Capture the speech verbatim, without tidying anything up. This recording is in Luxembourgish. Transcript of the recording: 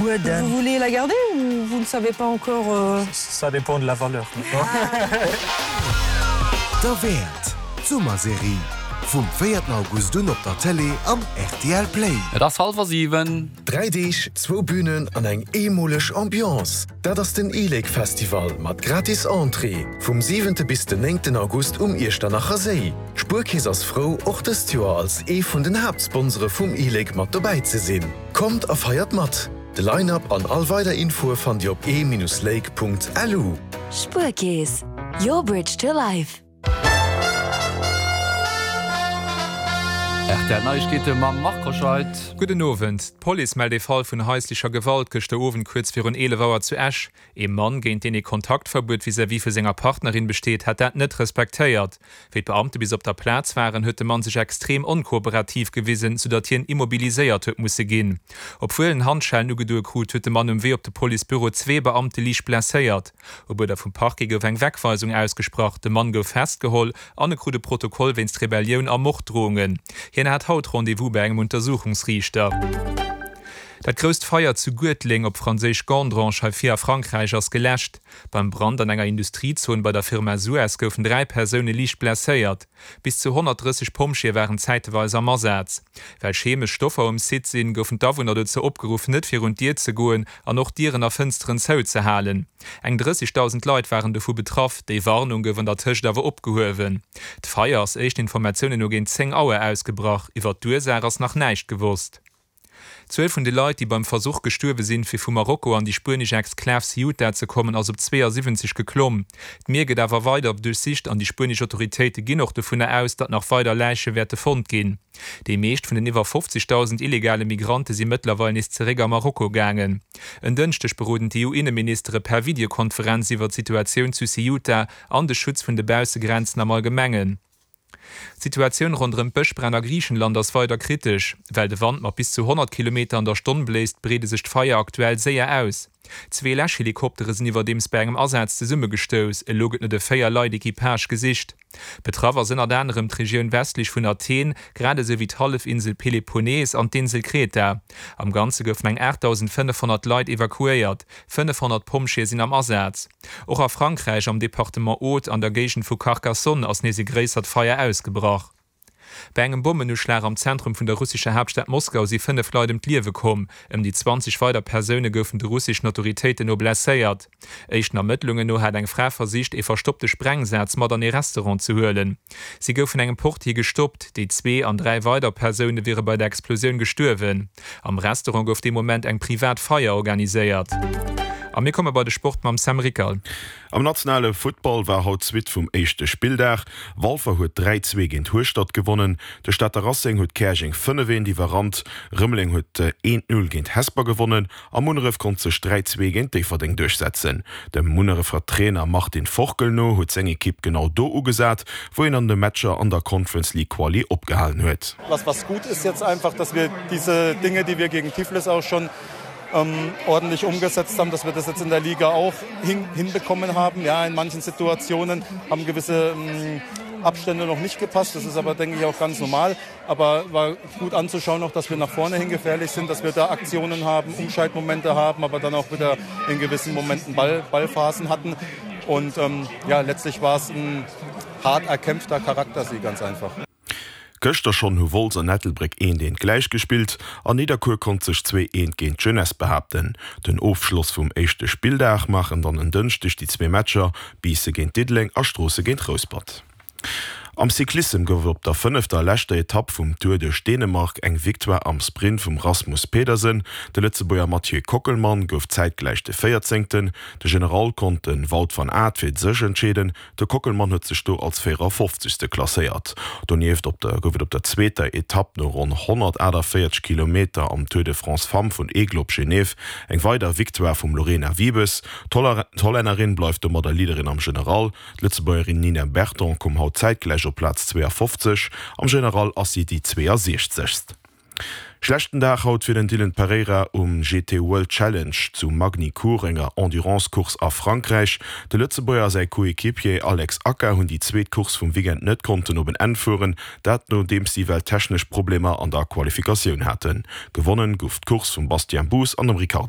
Verbueden. Vous voulez la garder ou vous ne savez pas encore euh... Ça dépend de la valeur. Derwäert, d'Summerserie. Vum véierten August un op der Tëlee an R T L Play. Et ass hallwer siwen. Dräi Deeg, zwou Bünen an eng eemoleg Ambiance. Dat ass den e-Lake Festival mat gratis Entrée vum siwente bis den néngten August um Iechternacher Séi. D'Spuerkeess ass frou, och dëst Joer als ee vun den Haaptsponsore vum e-Lake mat dobäi ze sinn. Kommt a feiert mat! De Line-Up an all weider Infoe fannt Dir op e-lake.lu. Spuerkeess, your bridge to life. R T L Neiegkeete mam Marc Hoscheid. Gudden Owend. D'Police mellt ee Fall vun haislecher Gewalt gëschter Owend kuerz virun eelef Auer zu Esch. Ee Mann, géint deen ee Kontaktverbuet vis-à-vis vu senger Partnerin besteet, hätt dat net respektéiert. Wéi d'Beamte bis op der Plaz waren, huet de Mann sech extrem onkooperativ gewisen, soudatt hien immobiliséiert huet musse ginn. Obwuel en Handschellen ugedoe krut, huet de Mann um Wee op de Policebüro zwee Beamte liicht blesséiert. Op Uerder vum Parquet gouf eng Wegweisung ausgesprach, de Mann gouf festgeholl an e krut e Protokoll wéinst Rebellioun a Morddrohungen. Hien hat haut Rendez-vous bei engem Untersuchungsriichter. Dat grousst Feier zu Guertleng, op Franséisch Gandrange, hei vir a Frankräich ass geläscht. Beim Brand an enger Industriezon bei der Firma Suez goufen dräi Persoune liicht blesséiert. Bis zu honnertdrësseg Pompjeeë waren zäiteweis am Asaz. Well chemesch Stoffer um Site sinn, goufen d'Awunner dozou opgeruff, net virun d'Dier ze goen an och Dieren a Fënsteren zouzehalen. Eng drëssegdausend Leit waren dovu betraff. Déi Warnung gouf an der Tëscht awer opgehuewen. D'Feier ass éischten Informatiounen no géint zéng Auer ausgebrach. Iwwer d'Ursaach ass nach näischt gewosst. D'Zuel vun de Leit, déi beim Versuch gestuerwe sinn, fir vu Marokko an déi spuenesch Exklav Ceuta ze kommen, ass op zweeasiwwenzeg geklomm. D'Mier gëtt awer weider duerchsicht an déi spuenesch Autoritéite ginn och dovunner aus, datt nach weider Läiche wäerte fonnt ginn. Déi meescht vun den iwwer fofzegdausend illegale Migrante si mëttlerweil nees zeréck a Marokko gaangen. En Dënschdeg beroden d'E U-Inneministere per Videokonferenz iwwer d'Situatioun zu Ceuta an de Schutz vun de Baussegrenzen am Allgemengen. D'Situatioun ronderëm d'Bëschbränn a Griichenland ass weider kritesch. Well de Wand mat bis zu honnert Kilometer an der Stonn bléist, breede sech d'Feier aktuell séier aus. Zwee Läschhelikoptere sinn iwwerdeems bei engem Asaz zesummegestouss. Elo gëtt no de véier Leit Equipage gesicht. Betraff ass ënnert anerem d'Regioun westlech vun Athen, grad esou wéi d'Hallefinsel Peloponnes an d'Insel Kreta. Am Ganze goufen eng aachtdausendfënnefhonnert Leit evakuéiert, fënnefhonnert Pompjeeë sinn am Asaz. Och a Frankräich am Departement Aude an der Géigend vu Carcassonne ass nees e gréissert Feier ausgebrach. Bei engem Bommenuschlag am Zentrum vun der russescher Haaptstad Moskau si fënnef Leit ëm d'Liewe komm. Ëm déi zwanzeg weider Persoune goufen de russeschen Autoritéiten no blesséiert. Éischten Ermëttlungen no hat eng Fra versicht, ee verstoppte Sprengsaz mat an ee Restaurant ze huelen. Si gouf vun engem Portier gestoppt. Déi zwee an dräi weider Persoune wiere bei der Explosioun gestuerwen. Am Restaurant gouf dee Moment eng privat Feier organiséiert. A mir komme bei de Sport mam Sam Rickal. Am nationale Futtball war haut d'Suite vum éischte Spilldag. Walfer huet dräi, zwee géint Hueschtert gewonnen, de Stater Racing huet Käerjeng fënnef, eent iwwerrannt, Rëmeleng huet eent, null géint Hesper gewonnen a Munneref konnt sech dräi, zwee géint Déifferdeng duerchsetzen. Dem Munnerefer Trainer Martin Forkel no huet seng Ekipp genau do ugesat, wou een an de Matcher an der Conference League Quali opgehalen huet. Was was gut ist jetzt einfach, dass wir diese Dinge, die wir gegen Tiflis auch schon ähm, ordentlich umgesetzt haben, dass wir das jetzt in der Liga auch hin, hinbekommen haben. Ja, in manchen Situationen haben gewisse ähm, Abstände noch nicht gepasst. Das ist aber, denke ich, auch ganz normal. Aber war gut anzuschauen, auch, dass wir nach vorne hin gefährlich sind, dass wir da Aktionen haben, Umschaltmomente haben, aber dann auch wieder in gewissen Momenten Ball, Ballphasen hatten. Und ähm, ja, letztlich war es ein hart erkämpfter Charaktersieg ganz einfach. Gëschter schonn hu Wolz an Ettelbréck eent eent gläichgespillt an Nidderkuer konnt sech zwee eent géint d'Jeunesse behaapten. Den Ofschloss vum éischte Spilldag maachen dann en Dënschdeg déi zwee Matcher Biissen géint Diddeleng a Stroossen géint Rouspert. Am Cyclissem gouf et op der fënnefter a leschter Etapp vum Tour duerch Dänemark eng Victoire am Sprint vum Rasmus Pedersen. De Lëtzebuerger Mathieu Kockelmann gouf zäitgläich de Véierzéngten. De General konnt de Wout van Aert fir sech entscheeden. De Kockelmann huet sech do als véierafofzegste klasséiert. Donieft op der gouf et op der zweeter Etapp no ronn honnertaachtavéierzeg Kilometer am Tour de France Femmes vun Aigle op Genève eng weider Victoire vum Lorena Wiebes. D'Hollännerin bleift domadder Leaderin am General. D'Lëtzebuergerin Nina Berton koum haut zäitgläich op Plaz zweeafofzeg, am General ass si déi zweeasiechzegst. Schlechten Dag haut fir den Dylan Pereira um G T World Challenge zu Magny-Cours, enger Endurance-Course a Frankräich. De Lëtzebuerger a säi Coequipier Alex Aka hunn déi zweet Course vum Weekend net konnten op en Enn fueren, dat nodeems si well technesch Problemer an der Qualifikatioun haten. Gewonnen gouf d'Course vum Bastien Boos an dem Ricardo.